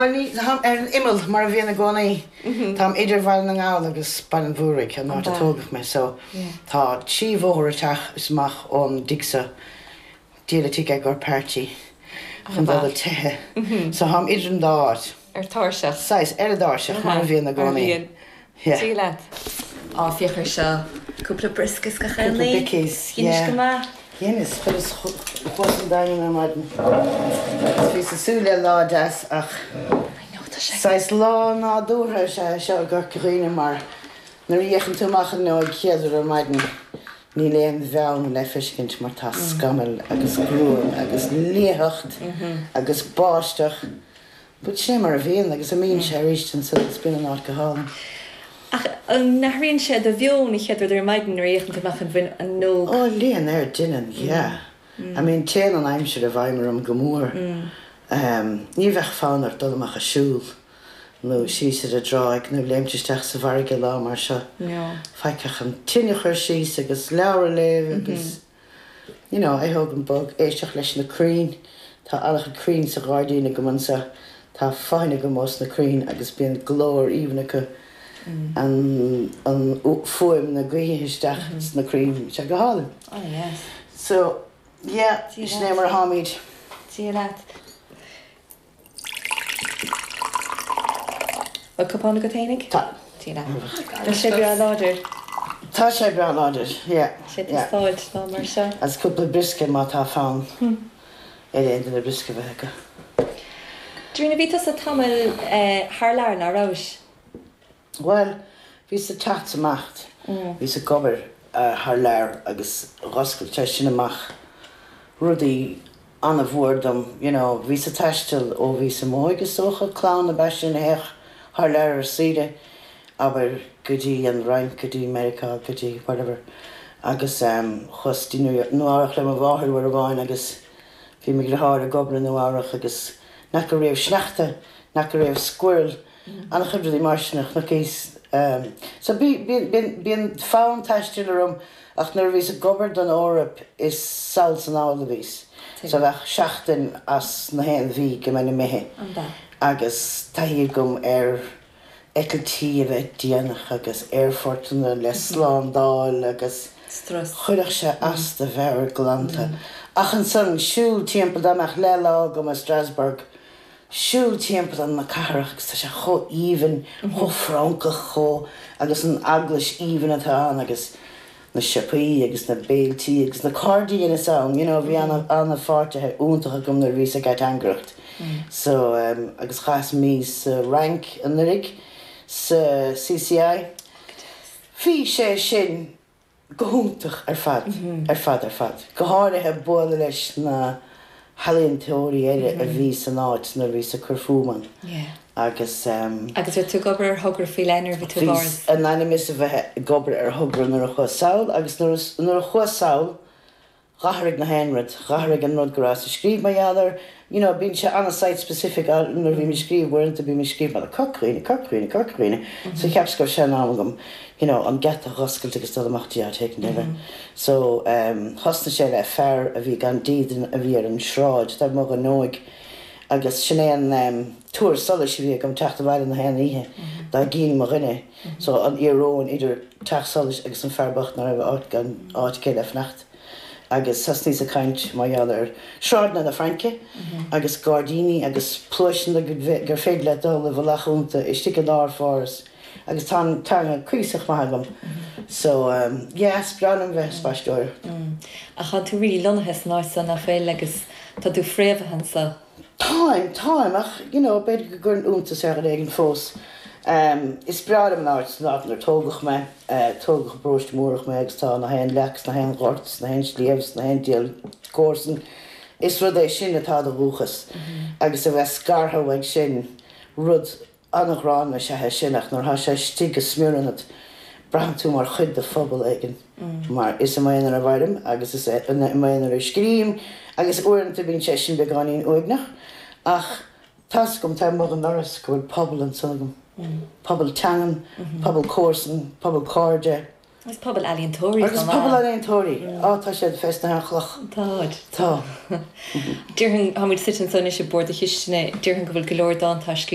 Bhuel, táim ar an imeall, mar a bhíonn i gcónaí. Táim idir Bhaile na nGall agus Baile an Mhúraigh, an áit a tógadh mé, so tá trí bhóthar isteach is amach ón dtigh so. Díol an tigh ag ár páirtí chun dul ag teitheadh. So táim idir an dá áit. Ar tairseach. Saghas, ar an dtairseach, mar a bhíonn i gcónaí. Mar a bhíonn. Dia leat. Á, féach ar seo. Cúpla briosca is gach aon Cúpla ní. bickies, Dheinis yeah. go maith. Dheineas, chuireas chuas an Daingean ar maidin agus bhíos ag súil le lá deas ach I know, tá sé. saghas lá nádúrtha is ea é seo i gCorca Dhuibhne mar nuair a fhéachann tú amach an fhuinneoig chéad rud ar maidin níl aon bheann le feiscint mar tá scamaill agus gruaim agus liathacht agus báisteach. But sin é mar a bhíonn agus imíonn sé arís ansan agus bíonn an áit go hálainn. Ach an n-athraíonn sé do mheon an chéad rud ar maidin nuair a fhéachann tú amach an bhfuinneog? Ó, ligeann air, deineann, yeah. I mean téann an aimsir i bhfeidhm orm go mór. Ní bheadh fonn ort dul amach ag siúl nó síos ar an dtráigh nó léimt isteach sa bhfarraige lá mar seo. Faic ach an tine a chur síos agus leabhar a léamh agus. you know, a thógaint bog, éisteacht leis na crainn, tá an-chuid crainn sa ghairdín agam anseo, tá fothain agam ós na crainn agus bíonn glór aoibhinn acu, an, an fuaim na gaoithe isteach sna crainn, tá sé go hálainn. Oh yes. So, yeah, sin é mar atáimid. Dia leat. Bhfuil cupán agat fhéinig? Tá. Dia leat. Tá sé breá láidir. Tá sé breá láidir, yeah. Sé tástáilt lá mar seo. Agus cúpla briosca má tá fonn ar aon duine briosca a bheith acu. Darina, bhí tusa tamall thar lear, ná rabhais? Bhuel, bhíos ag teacht 's imeacht. Bhíos ag obair thar lear agus dh'oscail sé sin amach rudaí ana-mhór dom, you know. Bhíos ag taisteal ó bhíos i m'óige is dócha, clann ab ea sinn a théadh thar lear ar saoire, abair go dtí an Fhrainc, go dtí Meiriceá, go dtí whatever. Agus chuas dtí Nua Eabhrac le mo mháthair uair amháin agus bhí mo dhriotháir ag obair i Nua Eabhrac agus nach go raibh sneachta, nach go raibh squirrel, An-chuid rudaí mar sin a chonaiceas. So bíonn fonn taistil orm ach nuair a bhíos ag obair don Eoraip is sall 's anall a bhíos. So bheadh seachtain as na haon mhí go mbeinn imithe agus taithí agam ar eitiltí a bheith déanach agus aerfortanna le slándáil agus chuirfeadh sé as do mheabhair glanta. Ach ansan siúl timpeall dá mbeadh leath lá agam i Strasbourg siúl timpeall na cathrach agus tá sé chomh aoibhinn, chomh Francach, chomh, agus an eaglais aoibhinn atá ann agus na siopaí agus na béiltí agus na cairde a dheineas ann, you know, bhí ana, ana pháirtithe iontach agam nuair a bhíos ag ateangaireacht. So, agus chaitheas mí sa Fhrainc anuraidh sa CCI. Bhí sé sin go hiontach ar fad, ar fad, ar fad. Go háirithe bualadh leis na healaíontóirí eile a bhí san áit nuair a bhíos ag cur fúm ann agus. Agus raibh tú ag obair ar thogra faoi leith nuair a bhí tú i bPáras? Bhíos in ainm is a bheith ag obair ar thogra nuair a chuas sall agus nuair a chuas sall Dh'athraigh na haon rud, dh'athraigh an rud go rabhas ag scríobh mar gheall air, you know, bíonn sé an-site specific nuair a bhím ag scríobh, uaireanta bím ag scríobh mar Corca Dhuibhne, Corca Dhuibhne, Corca Dhuibhne, so cheapas go raibh sé in am agam, you know, an geata a dh'oscailt agus dul amach dtí áit éicint eile. So, thosnaigh sé le fear a bhí gan dídean a bhí ar an sráid, taobh amuigh d'fhuinneoig agus sin é an tuar solais a bhí agam teacht abhaile na haon oíche dá gcínn mo dhuine, so an íoróin idir teach solais agus an fear bocht ná raibh áit gan áit aige le fanacht. agus thosnaíos ag caint mar gheall ar shráideanna na Fraince agus gairdíní agus pluaiseanna gur féidir leat dul i bhfolach iontu istigh i lár Pháras agus tá an teanga cuíosach maith agam so yeah is breá liom bheith ag spaisteoireacht. Ach tá tú really lonnaithe san áit seo nach bhfuil agus tá tú fréamhaithe anseo. Táim, táim, ach you know b'fhéidir go gcuireann iontas ar dhuine éigin fós. Is breá liom an áit, an áit inar tógadh mé, tógadh i bparóiste Múrach mé agus tá na haon leac 's na haon ghort 's na haon sliabh 's na haon diabhal comharsan. Is rud é sin atá i do dhúchas agus a bheith scartha uaidh sin, rud An-ghránna is ea é sin ach nuair atá sé istigh go smior ionat, braitheann tú mar chuid de phobal éigin mar is i m'aonar a mhairim agus is i m'aonar a scríobhaim agus uaireanta bíonn sé sin beagáinín uaigneach ach tá's agam taobh amuigh den ndoras go bhfuil pobal ansan agam, pobal teangan, pobal comharsan, pobal cairde. Agus pobal ealaíontóirí chomh maith. Agus pobal ealaíontóirí. Á, tá siad fés na haon chloch. Táid. Tá. Déarfainn, tá muid suite anso anois ag bord na cistine, déarfainn go bhfuil go leor dánta scríte.